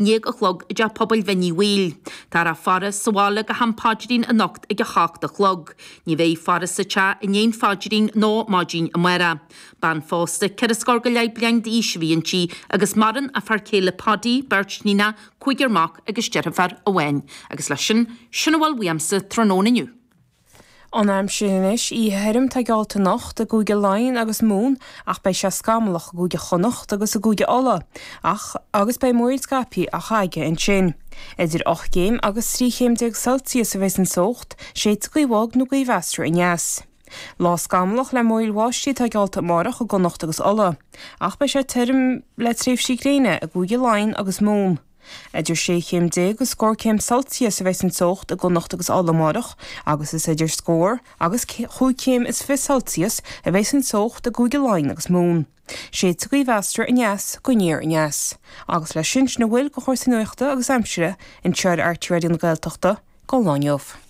Ndéag a chlog i dTeach Pobail Bhinn Uí Bhaoill. Táthar á faire sa bhaile go ham paidrín anocht ag 7 a chlog. Ní bheidh faire sa teach i ndiaidh an phaidrín nó maidin amárach. Bean phósta, ceithre scór go leith bliain d'aois a bhí inti agus maireann a fear céile Paddy, beirt níonach, cúigear mac agus deirfiúr amháin. Agus leis sin, sin a bhfuil uaimse tráthnóna inniu. An aimsir anois, oíche thirim atá geallta anocht i gCúige Laighean agus Mumhan ach beidh sé scamallach i gCúige Chonnacht agus i gCúige Uladh ach agus beidh múraíl scaipthe á chagadh ansin. Idir 8 gcéim agus 13 chéim Celsius a bheas an teocht, séidfidh gaoth bhog nó gaoth mheasartha aneas. Lá scamallach le múraíl bháistí atá geallta amárach i gConnacht agus Uladh ach beidh sé tirim le tréimhsí gréine i gCúige Laighean agus Mumhan. Idir 16 chéim agus scór céim Celsius a bheas an teocht i gConnacht agus Ulaidh amárach agus is idir scór agus chúig chéim is fiche Celsius a bheas an teocht i gCúige Laighean agus Mumhan. Séidfidh gaoth mheasartha aneas go aniar aneas. Agus leis sin, sin a bhfuil de chúrsaí nuachta agus aimsire anseo ar RTÉ Raidió na Gaeltachta don lá inniu.